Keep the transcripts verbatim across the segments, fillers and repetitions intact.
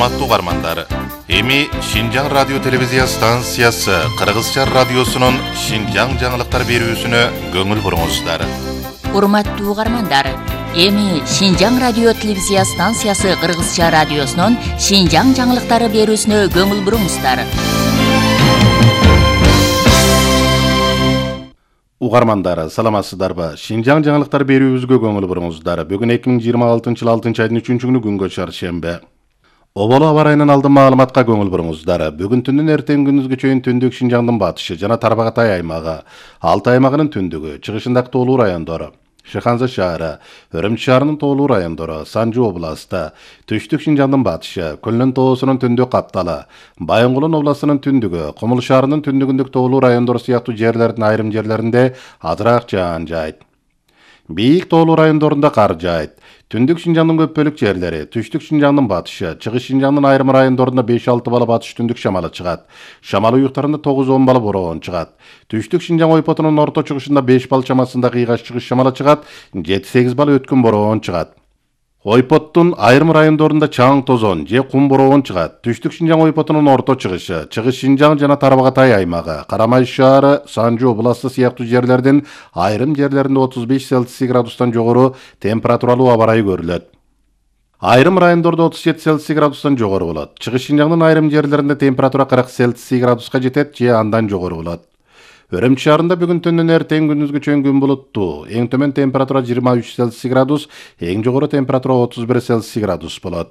Урматтуу угармандар, эми Шинжаң радио телевизия станциясы Кыргызча радиосунун Шинжаң жаңылыктар берүүсүнө көңүл буруңуздар. Урматтуу угармандар, эми Шинжаң радио телевизия станциясы Кыргызча радиосунун Шинжаң жаңылыктары берүүсүнө көңүл буруңуздар. Угармандар, саламатсыздарбы? Шинжаң жаңылыктар берүүбүзгө көңүл буруңуздар. Бүгүн эки миң жыйырма алтынчы жыл алтынчы айдын үчүнчү күнү күнгө чаршембе. Оболо аба ырайынан алдын маалыматка көңүл буруңуздар. Бүгүн түндүн эртең күндүзгө чейин түндүк Шинжаңдын батышы жана Тарбагатай аймагы, Алтай аймагынын түндүгү, чыгышындагы тоолуу райондору, Шыханза шаары, Өрүмчү шаарынын тоолуу райондору, Санжу областы, түштүк Шинжаңдын батышы, Көлнөн тоосунун түндүк капталы, Байынгулун областынын түндүгү, Кумул шаарынын түндүгүндөгү тоолуу райондору сыяктуу жерлердин айрым жерлеринде азыраак жаан жайт. Бийик тоолуу райондорунда кар жайт. Түндүк Шинжаңдын көп бөлүк жерлери, түштүк Шинжаңдын батышы, чыгыш Шинжаңдын айрым райондорунда беш алты бала батыш түндүк шамалы чыгат. Шамал уюктарында тогуз он бала бороон чыгат. Түштүк Шинжаң ойпотунун орто чыгышында беш бал чамасында кыйгаш чыгыш шамалы чыгат, жети сегиз бала өткүн бороон чыгат. Ойпоттун айрым райондорунда чаң тозон же кум бороон чыгат. Түштүк Шинжаң ойпотунун орто чыгышы, чыгыш Шинжаң жана Тарбагатай аймагы, Карамай шаары, Санжу областы сыяктуу жерлердин айрым жерлеринде отуз беш градустан жогору температуралуу аба ырайы көрүлөт. Айрым райондордо отуз жети градустан жогору болот. Чыгыш Шинжаңдын айрым жерлеринде температура кырк градуска жетет же андан жогору болот. Өрүмчү шаарында бүгүн түндүн эртең күндүзгө чейин күн булуттуу. Эң төмөн температура жыйырма үч градус, эң жогору температура отуз бир градус болот.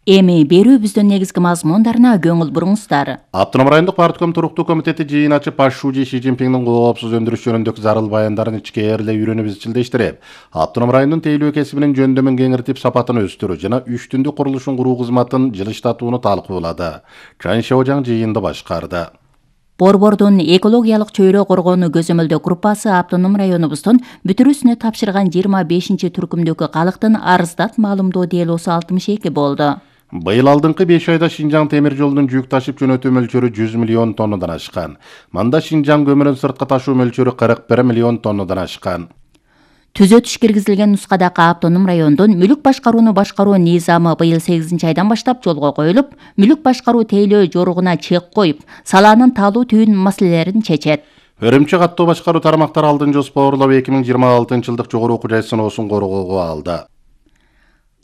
Эми берүүбүздүн негизги мазмундарына көңүл буруңуздар. Автоном райондук партком туруктуу комитети жыйын ачып, Пашшужи Ши Цзиньпиндин коопсуз өндүрүш жөнүндөгү зарыл баяндарын ичкээрлей үйрөнүп изчилдештирип, автоном райондун тейлөө кесибинин жөндөмүн кеңиртип, сапатын өстүрүү жана үч түндүк курулушун куруу кызматын жылыштатууну талкуулады. Чан Шаожаң жыйынды башкарды. Борбордун экологиялык чөйрө коргоону көзөмөлдөө группасы автоном районубуздун бүтүрүүсүнө тапшырган жыйырма бешинчи түркүмдөгү калктын арыздат маалымдоо делосу алтымыш эки болду. Быйыл алдыңкы беш айда Шинжаң темир жолунун жүк ташып жөнөтүү мөлчөрү жүз миллион тоннадан ашкан. Мында Шинжаң көмүрүн сыртка ташуу мөлчөрү кырк бир миллион тоннадан ашкан. Түзөтүш киргизилген нускадагы автоном райондун мүлүк башкарууну башкаруу низамы быйыл сегизинчи айдан баштап жолго коюлуп, мүлүк башкаруу тейлөө жоругуна чек коюп, салаанын таалуу түйүн маселелерин чечет. Өрүмчү каттоо башкаруу тармактары алдын жоспарлап эки миң жыйырма алтынчы жылдык жогору окуу жай сыноосун коргоого алды.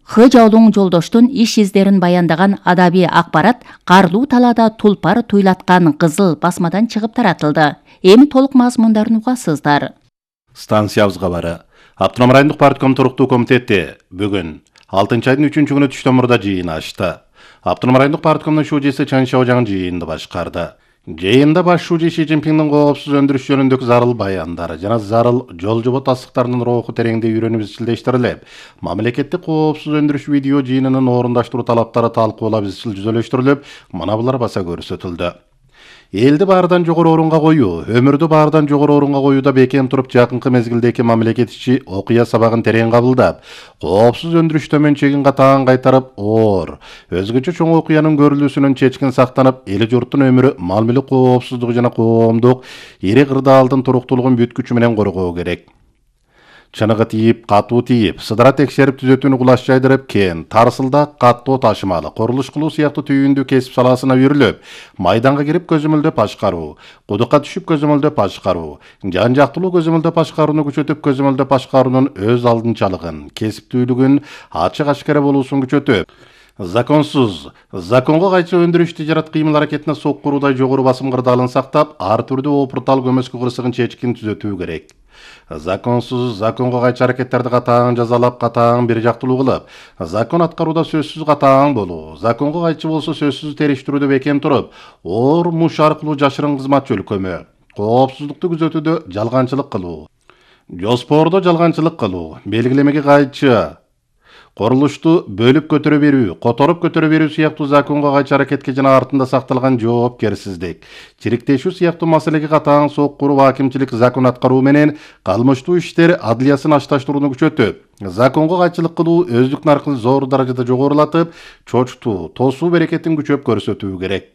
Х Жаулуң жолдоштун иш издерин баяндаган адабий акпарат карлуу талаада тулпар туйлаткан кызыл басмадан чыгып таратылды. Эми толук мазмундарын угасыздар. Станциябызга бары. Автоном райондук партком туруктуу комитети бүгүн алтынчы айдын үчүнчү күнү түштөн мурда жыйын ачты. Автоном райондук парткомдун шужеси Чан Шаожаң жыйынды башкарды. Жыйында Башшужи Ши Цзиньпиндин коопсуз өндүрүш жөнүндөгү зарыл баяндары жана зарыл жол жобо тастыктарынын руху тереңдей үйрөнүп изчилдештирилип, мамлекеттик коопсуз өндүрүш видео жыйынынын орундаштыруу талаптары талкуулап изчил жүзөлөштүрүлүп, мына булар баса көрсөтүлдү. Элди баардан жогору орунга коюу, өмүрдү баардан жогору орунга коюуда бекем туруп, жакынкы мезгилдеги мамлекет ичи окуя сабагын терең кабылдап, коопсуз өндүрүш төмөнчөгүн катаан кайтарып, оор, өзгөчө чоң окуянын көрүлүүсүнөн чечкин сактанып, эли журттун өмүрү, мал мүлүк коопсуздугу жана коомдук ири кырдаалдын туруктуулугун бүткүчү менен коргоо керек. Чыныгы тийип, катуу тийип, сыдыра текшерип түзөтүүнү кулаш жайдырып, кен, тарсылда каттоо ташымалы, курулуш кылуу сыяктуу түйүндүү кесип салаасына үйрүлүп, майданга кирип көзөмөлдөп башкаруу, кудукка түшүп көзөмөлдөп башкаруу, жан жактылуу көзөмөлдөп башкарууну күчөтүп, көзөмөлдөп башкаруунун өз алдынчалыгын, кесиптүүлүгүн, ачык ашкара болуусун күчөтүп, законсуз, законго кайчы өндүрүш тижарат кыймыл аракетине соккуруудай жогору басым кырдаалын сактап, ар түрдүү опуртал көмөскө кырсыгын чечкин түзөтүү керек. Законсуз, законго кайчы аракеттерди катаан жазалап, катаан бир жактылуу кылып, закон аткарууда сөзсүз катаан болуу, законго кайчы болсо сөзсүз териштирүүдө бекем туруп, оор муш аркылуу жашырын кызмат чөлкөмү, коопсуздукту күзөтүүдө жалганчылык кылуу, жоспордо жалганчылык кылуу, белгилемеге кайчы курулушту бөлүп көтөрө берүү, которуп көтөрө берүү сыяктуу законго кайчы аракетке жана артында сакталган жоопкерсиздик, чириктешүү сыяктуу маселеге катаан соккуруу акимчилик закон аткаруу менен калмыштуу иштер адлиясын ашташтырууну күчөтүп, законго кайчылык кылуу өздүк наркын зор даражада жогорулатып, чочтуу, тосуу берекетин күчөп көрсөтүү керек.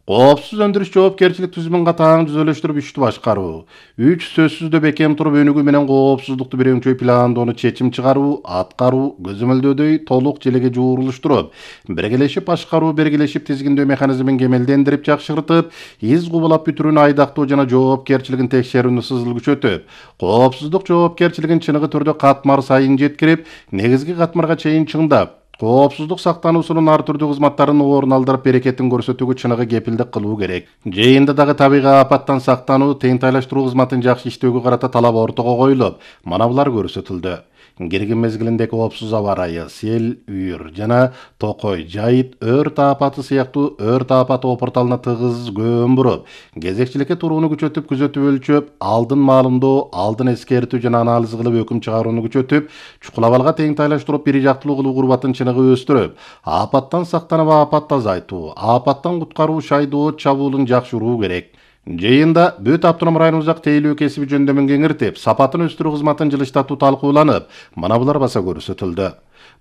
Коопсуз өндүрүш жоопкерчилик түзүмүн катаң түзөлүштүрүп ишти башкаруу. үч Сөзсүздө бекем туруп өнүгүү менен коопсуздукту бирөңчөй пландоону чечим чыгаруу, аткаруу, көзөмөлдөөдөй толук желеге жуурулуштуруп, биргелешип башкаруу, биргелешип тизгиндөө механизмин кемелдендирип жакшыртып, из кубулап бүтүрүүнү айдактоо жана жоопкерчилигин текшерүүнү сызыл күчөтүп, коопсуздук жоопкерчилигин чыныгы түрдө катмар сайын жеткирип, негизги катмарга чейин чыңдап, коопсуздук сактануусунун ар түрдүү кызматтарын орун алдырып берекетин көрсөтүүгө чыныгы кепилдик кылуу керек. Жыйында дагы табигый апаттан сактануу, тыйынтайлаштыруу кызматын жакшы иштөөгө карата талап ортого коюлуп, манабулар көрсөтүлдү. Киргин мезгилинде коопсуз аба ырайы, сел, үйүр жана токой, жайыт, өрт апаты сыяктуу өрт апаты опурталына тыгыз көөн буруп, кезекчиликке турууну күчөтүп, күзөтүп өлчөп, алдын маалымдоо, алдын эскертүү жана анализ кылып өкүм чыгарууну күчөтүп, чукулабалга теңтайлаштырып, бир жактылуу кылуу курбатын чыныгы өстүрүп, апаттан сактанып апатты азайтуу, апаттан куткаруу шайдоо чабуулун жакшыруу керек. Жыйында бүт автоном районубуздагы тейлөө кесиби жөндөмүн кеңиртип, сапатын өстүрүү кызматын жылыштатуу талкууланып, манабулар баса көрсөтүлдү.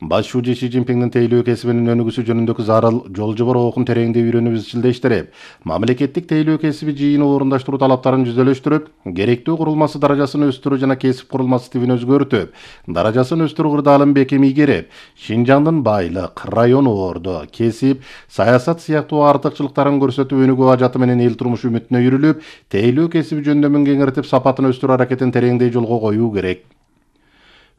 Баш шүүжө Си Цзиньпиндин тейлөө кесибинин өнүгүүсү жөнүндөгү зарыл жол жобор окун тереңдей үйрөнүп изчилдештирип, мамлекеттик тейлөө кесиби жыйыны орундаштыруу талаптарын жүзөлөштүрүп, керектүү курулмасы даражасын өстүрүү жана кесип курулмасы тибин өзгөртүп, даражасын өстүрүү кырдаалын бекем ийгерип, Шинжаңдын байлык, район ордо, кесип, саясат сыяктуу артыкчылыктарын көрсөтүп, өнүгүү ажаты менен эл турмушу үмүтүнө үйрүлүп, тейлөө кесиби жөндөмүн кеңиртип, сапатын өстүрүү аракетин тереңдей жолго коюу керек.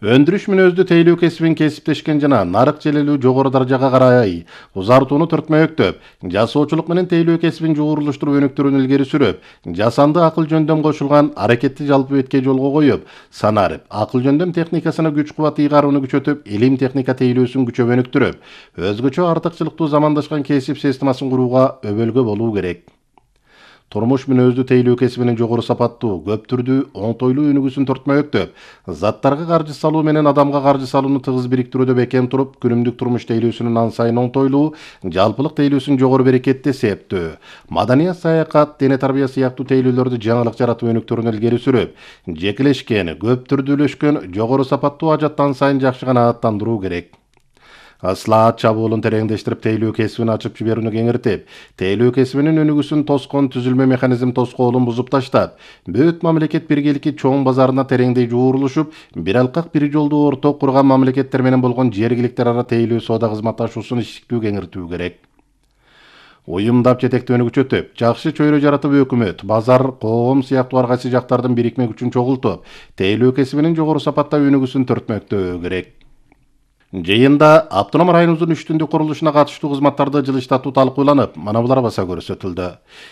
Өндүрүш мүнөздүү тейлөө кесибин кесиптешкен жана нарык желелүү жогору даражага карай узартууну түртмөктөп, жасоочулук менен тейлөө кесибин жуурулуштуруп өнүктүрүүнү илгери сүрүп, жасанды акыл жөндөм кошулган аракетти жалпы бетке жолго коюп, санарып, акыл жөндөм техникасына күч кубат ыйгарууну күчөтүп, илим техника тейлөөсүн күчөп өнүктүрүп, өзгөчө артыкчылыктуу замандашкан кесип системасын курууга өбөлгө болуу керек. Турмуш мүнөздүү тейлөө кесибинин жогору сапаттуу, көп түрдүү, оңтойлуу өнүгүүсүн төртмөктөп, заттарга каржы салуу менен адамга каржы салууну тыгыз бириктирүүдө бекем туруп, күнүмдүк турмуш тейлөөсүнүн ан сайын оңтойлуу, жалпылык тейлөөсүн жогору берекетти эсептөө, маданият, саякат, дене тарбия сыяктуу тейлөөлөрдү жаңылык жаратып өнүктүрүүнү илгери сүрүп, жекелешкен, көп түрдүүлөшкөн, жогору сапаттуу ажаттан сайын жакшы канааттандыруу керек. Аслаат чабуулун тереңдештирип, тейлөө кесибин ачып жиберүүнү кеңиртип, тейлөө кесибинин өнүгүүсүн тоскон түзүлмө механизм тоскоолун бузуп таштап, бүт мамлекет биргеликки чоң базарына тереңдей жуурулушуп, бир алкак бир жолду орток курган мамлекеттер менен болгон жергиликтер ара тейлөө соода кызматташуусун иштиктүү кеңиртүү керек. Уюмдап жетектөөнү күчөтүп, жакшы чөйрө жаратып өкмөт, базар, коом сыяктуу ар кайсы жактардын бирикме күчүн чогултуп, тейлөө кесибинин жогору сапатта өнүгүүсүн төртмөктөө керек. Жыйында автоном районубуздун үч түндүк курулушуна катыштуу кызматтарды жылыштатуу талкууланып, манабулар баса көрсөтүлдү.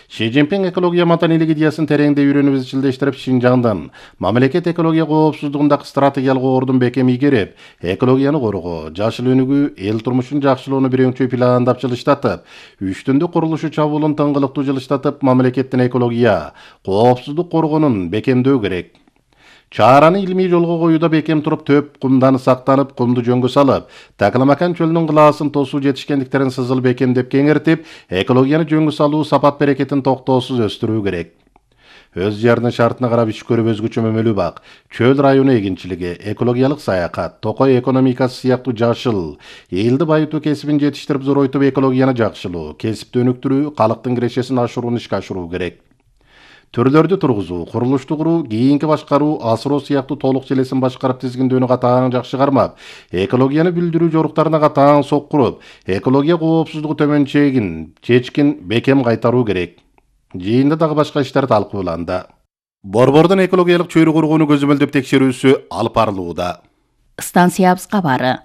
Си Цзиньпин экология маданийлик идеясын тереңдей үйрөнүп изчилдештирип, Шинжаңдын мамлекет экология коопсуздугундагы стратегиялык ордун бекем ийгерип, экологияны коргоо, жашыл өнүгүү, эл турмушун жакшылоону бирөңчөй пландап жылыштатып, үч түндүк курулушу чабуулун тыңгылыктуу жылыштатып, мамлекеттин экология, коопсуздук коргоонун бекемдөө керек. Чаараны илмий жолго коюуда бекем туруп, төп кумдан сактанып, кумду жөнгө салып, Такаламакан чөлүнүн кылаасын тосуу жетишкендиктерин сызыл бекемдеп кеңиртип, экологияны жөнгө салуу, сапат берекетин токтоосуз өстүрүү керек. Өз жеринин шартына карап иш көрүп өзгөчө мөмөлүү бак, чөл району эгинчилиги, экологиялык саякат, токой экономикасы сыяктуу жашыл, элди байытуу кесибин жетиштирип зоройтуп, экологияны жакшылоо, кесипти өнүктүрүү, калктын кирешесин ашырууну ишке ашыруу керек. Түрлөрдү тургузуу, курулушту куруу, кийинки башкаруу, асыроо сыяктуу толук желесин башкарып, тизгиндөөнү катаң жакшы кармап, экологияны билдирүү жоруктарына катаң соккуруп, экология коопсуздугу төмөнчегин, чечкин бекем кайтаруу керек. Жыйында дагы башка иштер талкууланды. Борбордун экологиялык чөйрө кургоону көзөмөлдөп текшерүүсү алып барылууда. Станциябыз кабары.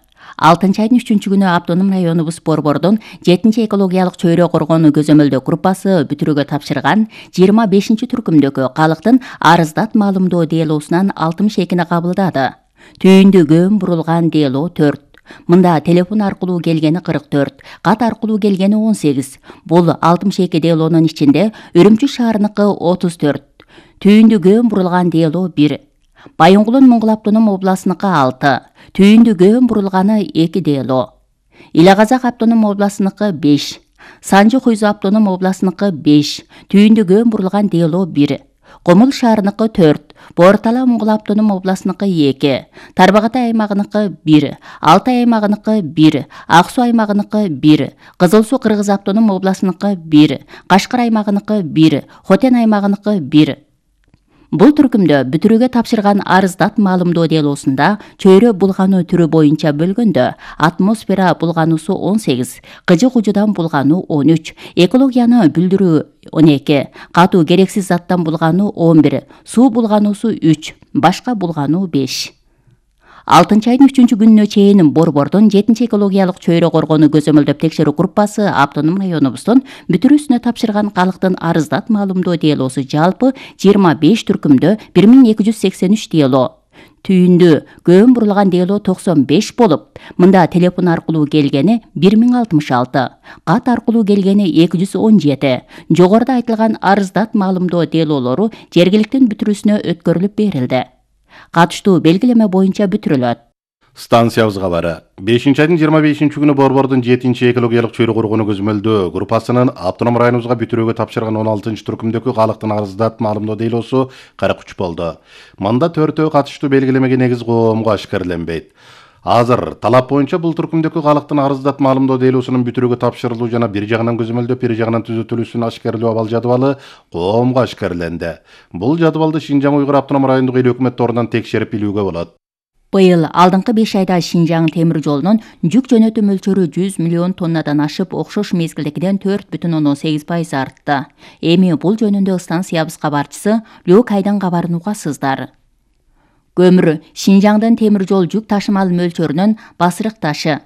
алтынчы айдын үчүнчү күнү автоном районубуз Борбордун жетинчи экологиялык чөйрө коргоону көзөмөлдөө группасы бүтүрүүгө тапшырган жыйырма бешинчи түркүмдөгү калктын арыздат маалымдоо делоосунан алтымыш экини кабылдады. Түйүндү көөн бурулган дело төрт. Мында телефон аркылуу келгени кырк төрт, кат аркылуу келгени он сегиз. Бул алтымыш эки делонун ичинде Үрүмчү шаарыныкы отуз төрт. Түйүндү көөн бурулган дело бир. Байынгулун Моңгол автоном областыныкы алты. Түйүндү көөн бурулганы эки дело. Ила Казак автоном областыныкы беш. Санжы Хуйзу автоном областыныкы беш. Түйүндү көөн бурулган дело бир. Комул шаарыныкы төрт. Бортала Моңгол автоном областыныкы эки, Тарбағатай аймагыныкы бир, Алтай аймагыныкы бир, Ак Суу аймагыныкы бир, Кызыл Суу Кыргыз автоном областыныкы бир, Кашкар аймагыныкы бир, Хотен аймагыныкы бир. Бул түркүмдө бүтүрүүгө тапшырган арыздат маалымдоо делосунда чөйрө булгануу түрү боюнча бөлгөндө атмосфера булгануусу он сегиз, кыжы кужудан булгануу он үч, экологияны бүлдүрүү он эки, катуу керексиз заттан булгануу он бир, суу булгануусу үч, башка булгануу беш. алтынчы айдын үчүнчү күнүнө чейин Борбордун жетинчи экологиялык чөйрө коргоону көзөмөлдөп текшерүү группасы автоном районубуздун бүтүрүүсүнө тапшырган калктын арыздат маалымдоо делосу жалпы жыйырма беш түркүмдө бир миң эки жүз сексен үч дело, түйүндү көөн бурулган дело токсон беш болуп, мында телефон аркылуу келгени бир миң алтымыш алты, кат аркылуу келгени эки жүз он жети, жогоруда айтылган арыздат маалымдоо делолору жергиликтин бүтүрүүсүнө өткөрүлүп берилди. Катыштуу белгилеме боюнча бүтүрүлөт. Станциябыз кабары. бешинчи айдын жыйырма бешинчи күнү Борбордун жетинчи экологиялык чөйрө коргоону көзөмөлдөө группасынын автоном районубузга бүтүрүүгө тапшырган он алтынчы түркүмдөгү калктын арыздат маалымдоо делосу кырк үч болду. Мында төртөө катыштуу белгилемеге негиз коомго ашкерленбейт. Азыр талап боюнча бул түркүмдөгү калктын арыздат маалымдоо делосунун бүтүрүүгө тапшырылуу жана бир жагынан көзөмөлдөп, бир жагынан түзөтүлүүсүн ашкерлөө абал жадыбалы коомго ашкерленди. Бул жадыбалды Шинжаң Уйгур автоном райондук эл өкмөт торунан текшерип билүүгө болот. Быйыл алдыңкы беш айда Шинжаң темир жолунун жүк жөнөтүү мөлчөрү жүз миллион тоннадан ашып, окшош мезгилдегиден төрт бүтүн ондон сегиз пайыз артты. Эми бул жөнүндө станциябыз кабарчысы Лök Айдан кабарынууга сыздар. Көмүр Шинжаңдын темир жол жүк ташымал мөлчөрүнүн басырык ташы.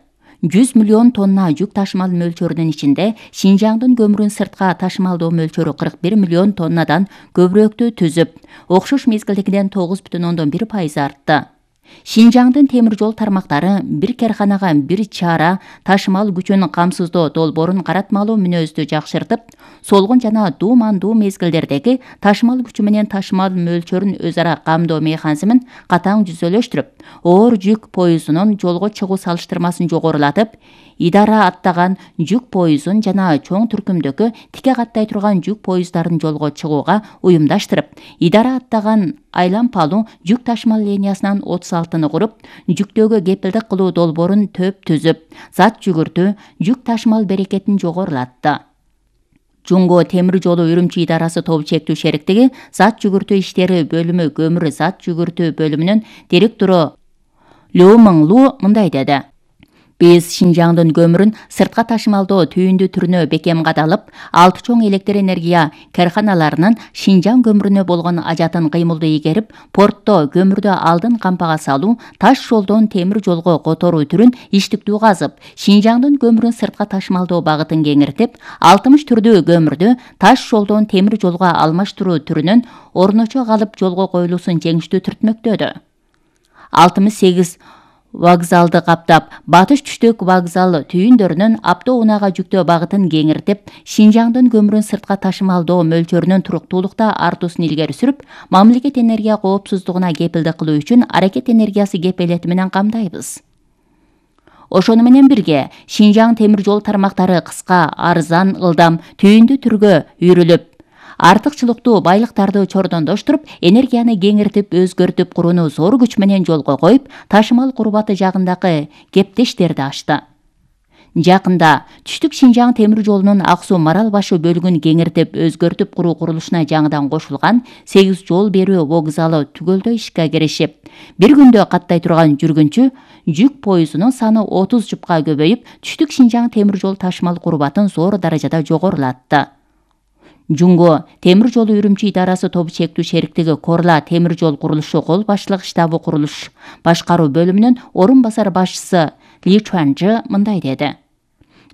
жүз миллион тонна жүк ташымал мөлчөрүнүн ичинде Шинжаңдын көмүрүн сыртка ташымалдоо мөлчөрү кырк бир миллион тоннадан көбүрөөктү түзүп, окшош мезгилдегиден тогуз бүтүн ондон бир пайыз артты. Шинжаңдын темир жол тармактары бир керканага бир чара ташымал күчүн камсыздоо долбоорун каратмалуу мүнөздү жакшыртып, солгун жана дуумандуу мезгилдердеги ташымал күчү менен ташымал мөлчөрүн өз ара камдоо механизмин катаң жүзөлөштүрүп, оор жүк поездунун жолго чыгуу салыштырмасын жогорулатып, идара аттаган жүк поездун жана чоң түркүмдөгү тике каттай турган жүк поезддарын жолго чыгууга уюмдаштырып, идара аттаган айлампалуу жүк ташымал линиясынан отуз алтыны куруп, жүктөгү кепилдик кылуу долбоорун төп түзүп, зат жүгүртүү, жүк ташымал берекетин жогорулатты. Жунго темир жолу Үрүмчү идарасы тобу чектүү шериктиги зат жүгүртүү иштери бөлүмү көмүр зат жүгүртүү бөлүмүнүн директору Лю Мыңлу мындай деди. Биз Шинжаңдын көмүрүн сыртка ташымалдоо түйүндү түрүнө бекем кадалып, алты чоң электр энергия карханаларынын Шинжаң көмүрүнө болгон ажатын кыймылдуу игерип, портто көмүрдү алдын кампага салуу, таш жолдон темир жолго которуу түрүн иштиктүү казып, Шинжаңдын көмүрүн сыртка ташымалдоо багытын кеңиртип, алтымыш түрдүү көмүрдү таш жолдон темир жолго алмаштыруу түрүнүн орночо калып жолго коюлуусун жеңиштүү түртмөктөдү. алтымыш сегиз вокзалды каптап, батыш түштүк вокзал түйүндөрүнүн Апто-Унага жүктөө багытын кеңиртип, Шинжаңдын көмүрүн сыртка ташымалдоо мөлчөрүнүн туруктуулукта артуусун илгери сүрүп, мамлекет энергия коопсуздугуна кепилдик кылуу үчүн аракет энергиясы кепилети менен камдайбыз. Ошону менен бирге Шинжаң темир жол тармактары кыска, арзан, ылдам, түйүндү түргө үйрүлүп, артыкчылыктуу байлыктарды чордондоштуруп, энергияны кеңиртип, өзгөртүп курууну зор күч менен жолго коюп, ташымал курбаты жагындагы кептештерди ачты. Жакында түштүк Шинжаң темир жолунун Ак Суу Марал башы бөлүгүн кеңиртип, өзгөртүп куруу курулушуна жаңыдан кошулган сегиз жол берүү вокзалы түгөлдөй ишке киришип, бир күндө каттай турган жүргүнчү жүк поездунун саны отуз жупка көбөйүп, түштүк Шинжаң темир жол ташымал курбатын зор даражада жогорулатты. Жунго темир жолу Үрүмчү идарасы тобу чектүү шериктиги Корла темир жол курулушу кол башчылык штабы курулуш башкаруу бөлүмүнүн орун басар башчысы Ли Чуанжы мындай деди.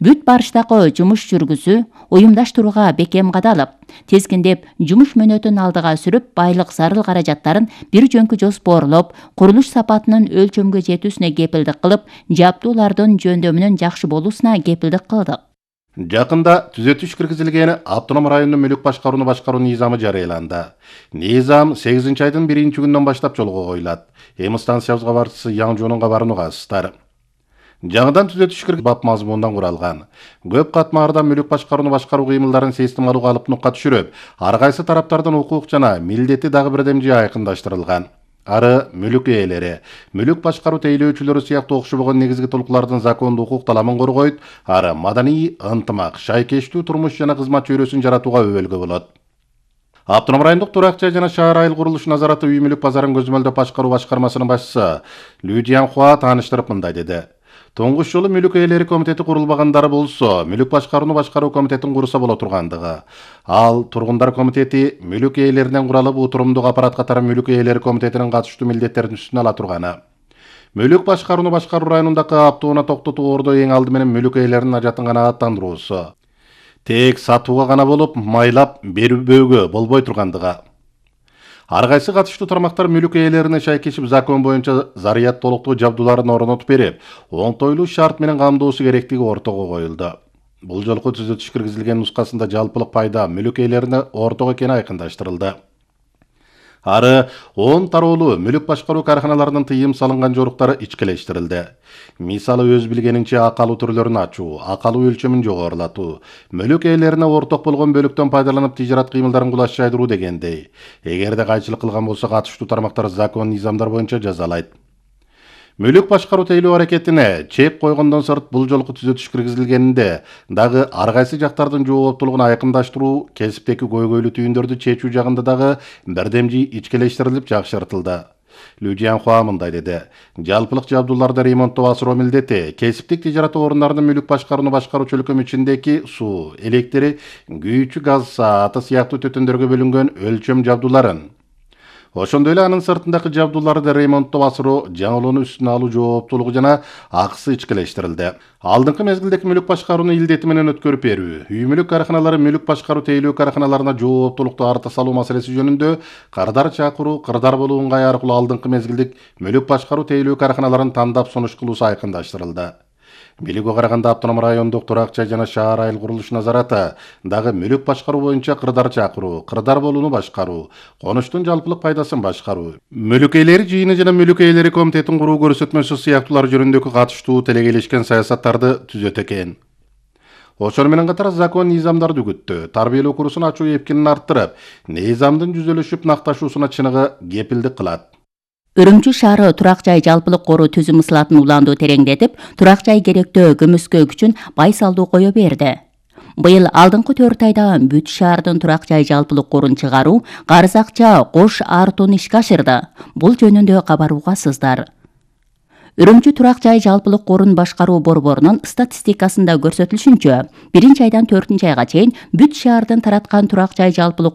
Бүт барыштагы жумуш жүргүзүү уюмдаштырууга бекем кадалып, тескиндеп, жумуш мөөнөтүн алдыга сүрүп, байлык зарыл каражаттарын бир жөнкү жоспорлоп, курулуш сапатынын өлчөмгө жетүүсүнө кепилдик кылып, жабдуулардын жөндөмүнүн жакшы болуусуна кепилдик кылдык. Жакында түзөтүш киргизилген автоном райондун мүлүк башкарууну башкаруу низамы жарыяланды. Низам сегизинчи айдын биринчи күнүнөн баштап жолго коюлат. Эми станциябызга барчысы Яң Жонун кабарынууга астар. Жаңыдан түзөтүш керек бап мазмундан куралган. Көп катмарда мүлүк башкарууну башкаруу кыймылдарын системалуу калыптыкка түшүрүп, ар кайсы тараптардын укук жана милдети дагы бирдемжи айкындаштырылган. Ары мүлүк ээлери, мүлүк башкаруу тейлөөчүлөрү сыяктуу окшобогон негизги толкулардын закондуу укук таламын коргойт, ары маданий ынтымак, шайкештүү турмуш жана кызмат чөйрөсүн жаратууга өбөлгө болот. Автоном райондук турак жай жана шаар айыл курулуш назараты үй мүлүк базарын көзөмөлдөп башкаруу башкармасынын башчысы Лю Jianhua тааныштырып мындай деди. Тоңгуш жолу мүлүк ээлери комитети курулбагандары болсо, мүлүк башкарууну башкаруу комитетин курса боло тургандыгы. Ал тургундар комитети мүлүк ээлеринен куралып утурумдук аппарат катары мүлүк ээлери комитетинин катыштуу милдеттерин үстүнө ала турганы. Мүлүк башкарууну башкаруу районундагы аптууна токтотуу ордо эң алды менен мүлүк ээлеринин ажатын канааттандыруусу. Тек сатууга гана болуп, майлап берүүгө болбой тургандыгы. Ар кайсы катыштуу тармактар мүлүк ээлерине шайкешип закон боюнча зарыят толуктуу жабдууларын орнотуп берип, оңтойлуу шарт менен камдоосу керектиги ортого коюлду. Бул жолку түзөтүш киргизилген нускасында жалпылык пайда мүлүк ээлерине ортого экени айкындаштырылды. Ары он тароолуу мүлүк башкаруу карханаларынын тыйым салынган жоруктары ичкелештирилди. Мисалы өз билгенинче акалуу түрлөрүн ачуу, акалуу өлчөмүн жогорулатуу, мүлүк ээлерине орток болгон бөлүктөн пайдаланып тижарат кыймылдарын кулаш жайдыруу дегендей. Эгерде кайчылык кылган болсо катыштуу тармактар закон низамдар боюнча жазалайт. Мүлүк башкаруу тейлөө аракетине чек койгондон сырт бул жолку түзөтүш киргизилгенинде дагы ар кайсы жактардын жооптуулугун айкындаштыруу, кесиптеги көйгөйлүү түйүндөрдү чечүү жагында дагы бирдемжи ичкелештирилип жакшыртылды. Лю Jianhua мындай деди. Жалпылык жабдууларды ремонттоо асыроо милдети кесиптик тижарат орундарынын мүлүк башкарууну башкаруу чөлкөмү ичиндеги суу, электри, күйүүчү газ сааты сыяктуу төтөндөргө бөлүнгөн өлчөм жабдууларын, ошондой эле анын сыртындагы жабдууларды ремонттоо асыроо, жаңылоону үстүнө алуу жооптуулугу жана акысы ичкелештирилди. Алдыңкы мезгилдеги мүлүк башкарууну илдети менен өткөрүп берүү, үй мүлүк карханалары мүлүк башкаруу тейлөө карханаларына жооптуулукту арта салуу маселеси жөнүндө кырдар чакыруу, кырдар болуу ыңгай аркылуу алдыңкы мезгилдик мүлүк башкаруу тейлөө карханаларын тандап сунуш кылуусу айкындаштырылды. Билүүгө караганда автоном райондук турак жай жана шаар айыл курулуш назараты дагы мүлүк башкаруу боюнча кырдар чакыруу, кырдар болууну башкаруу, конуштун жалпылык пайдасын башкаруу, мүлүк ээлери жыйыны жана мүлүк ээлери комитетин куруу көрсөтмөсү сыяктуулар жөнүндөгү катыштуу телегейлешкен саясаттарды түзөт экен. Ошону менен катар закон низамдарды үгүттү, тарбиялоо курсун ачуу эпкинин арттырып, низамдын жүзөлүшүп накташуусуна чыныгы кепилдик кылат. Үрүмчү шаары турак жай жалпылык коруу түзүм ысылатын улаандуу тереңдетип, турак жай керектөө көмөскө күчүн байсалдуу кое берди. Быйыл алдыңкы төрт айда бүт шаардын турак жай жалпылык корун чыгаруу, карыз акча кош артууну ишке ашырды. Бул жөнүндө кабар угасыздар. Үрүмчү турак жай жалпылык корун башкаруу борборунун статистикасында көрсөтүлүшүнчө, биринчи айдан төртүнчү айга чейин бүт шаардын тараткан турак жай жалпылык